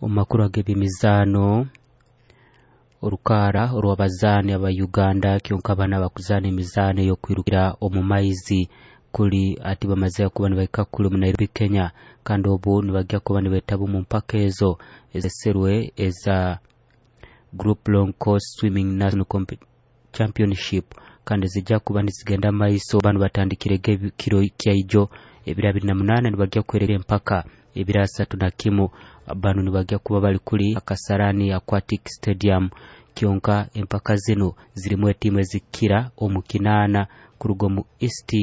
Omu makuru ag'ebyemizaano, orukaara orw'abazaani aba Uganda kyonka bana bakuzaana emizaano ey'okwirukira omu maizi kuli ati bamaze kuba nibahika kuli omu Nairobi, Kenya, kandi obu nibajya kuba nibetaba omu mpaka ezo ezeserwe eza Group Long Course Swimming National Championship, kandi zijja kuba nizigenda maiso. Banu batandikire kiro kyaijo ebiro 28, nibajya kuherera empaka ebiro 31. Banu nibajya kuba bali kuli Kasarani Aquatic Stadium. Kyonka empaka zinu zirimu etiimu ezikira omu 8 kuruga omu East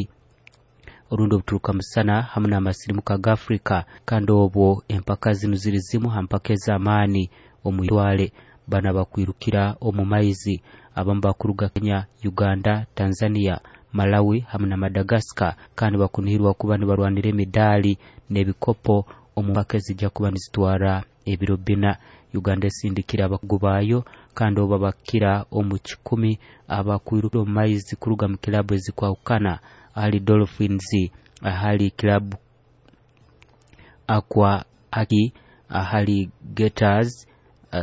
orundi obuturuka musana hamu n'amasirimuka ga Afrika, kandi obwo empaka zinu ziri zimu ha mpaka ez'amaani omu itwale. Bana bakwirukira omu maizi abamu bakuruga Kenya, Uganda, Tanzania, Malawi hamu na Madagascar, kandi bakunihirwa kuba nibarwanira emidaali n'ebikopo omu mpaka ezijja kuba nizitwara ebiro 4. Uganda esindikira abakugu baayo, kandi obu babakira omu 100 abakwirukira omu maizi kuruga mu kilabu ezikwahukana, ahali Dolphins, ahali Club Aqua Aki, ahali Gators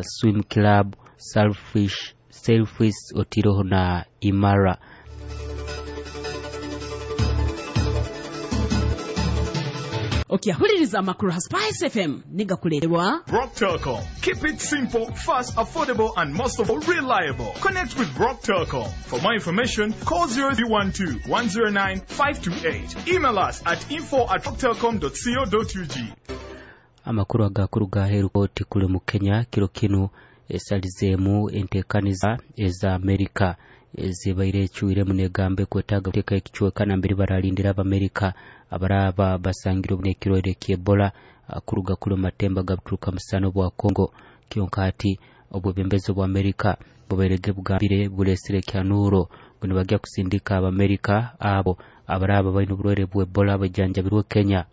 Swim Club, Sailfish otiroho na Imara. Okyahuliriza amakuru ha Spice FM nigakuleterwa Brock Telcom. Keep it simple, fast, affordable, and most of all, reliable. Connect with Brock Telcom. For more information, call 0312 109 528. Email us at info@brocktelcom.co.ug. Amakuru agakuruga aheeru kooti kuli mu Kenya kiro kinu esalizeemu enteekaniza eza Amerika ezibaire ecwiremu negamba ekwetaaga kuteeka ekicweka nambere baralindira Abamerika abaraba basangire n'ekirwaire ky'Ebola kuruga kuli omu matemba ga buturuka musana obwa Congo. Kyonka hati obwebembezi bwa Amerika bubairege bugambire buresire ekyanuro ngu nibajya kusindika Abamerika abo abaraba baine oburwaire bwa Ebola bajanjabirwe Kenya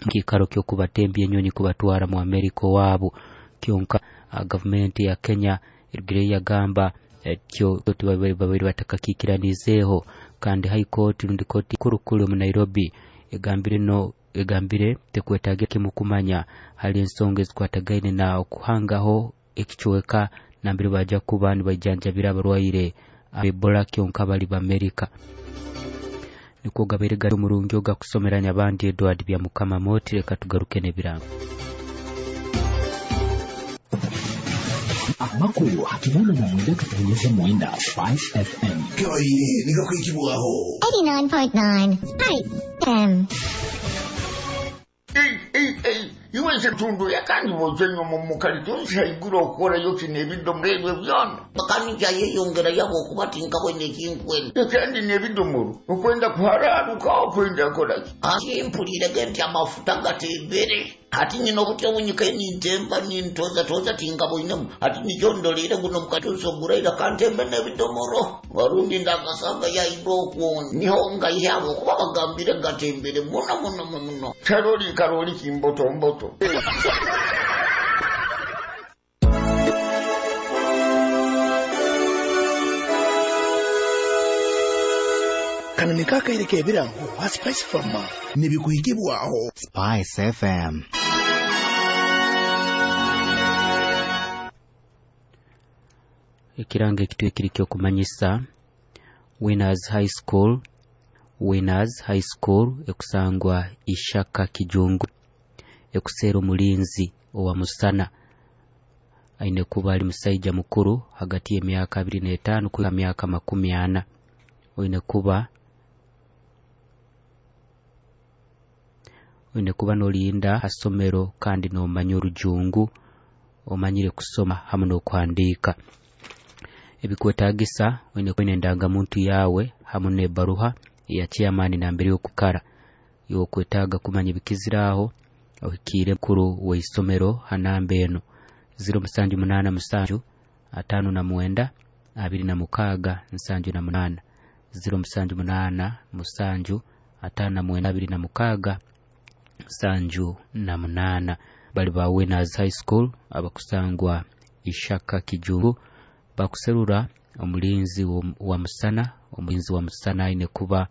mu kiikaro ky'okubatembya enyonyi kubatwara mu Amerika owaabo. Kyonka gavumenti ya Kenya erugireyo yagamba ekyo babaire batakakikiranizeeho, kandi High Court rundi kooti nkuru kuli omu Nairobi egambire tekwetaagira kimu kumanya hali ensonga ezikwatagaine na okuhangaho ekicweka nambere bajja kuba nibaijanjabira abarwaire Ebola kyonka bali b'Amerika. Nikwo gabaire gari omurungi ogakusomeranya abandi Edward Byamukama Moti. Leka tugaruke n'ebirango. Amakuru 89.9 Spice FM. Kabaire nigakwikibwaho. 89.9 Spice FM. Iwe nsetundu yakandi bozenyo mu kalitunsi haiguru okukorayo kino ebidomolo ebyo byona. Bakani yeyongera yabo okuba tinkabwene ekinkwene. Kandi n'ebidomolo okwenda kuhararuka okwenda kolaki. Ati mpulirege nti amafuta gatembere. Ati nyina obutya obunyika nintemba nintoza toza tinkabwinemu. Ati nikyo ndolere guno mukatuusi oguraira kantembe n'ebidomolo. Warundi ndakasanga yaibwa okwo niho ngaihyabo okuba bagambire gatembere muno muno muno. Karoli karoli kimboto mboto. Kano nikaakaire k'ebirango ha Spice Farmer nibikuhikibwaho Spice FM. Ekirango ekitwekiri ky'okumanyisa Winners High School. Winners High School ekusangwa Ishaka Kijungu ekuseera omulinzi owa musana aine kuba ali musaija mukuru hagati y'emyaka 25 kuhika myaka 40. Oine kuba n'olinda ha somero kandi n'omanya orujungu, omanyire kusoma hamu n'okuhandiika. Ebikwetaagisa oine kuba endangamuntu yawe hamu n'ebaruha eya chairman nambere y'okukara. Iwe okwetaaga kumanya ebikiziraho ohikiire mukuru w'isomero ha namba eno 0787 59 26 78, 0787 59 26 78. Bali ba Winners High School abakusangwa Ishaka Kijungu bakuserura omulinzi wa musana. Omulinzi wa musana aine kuba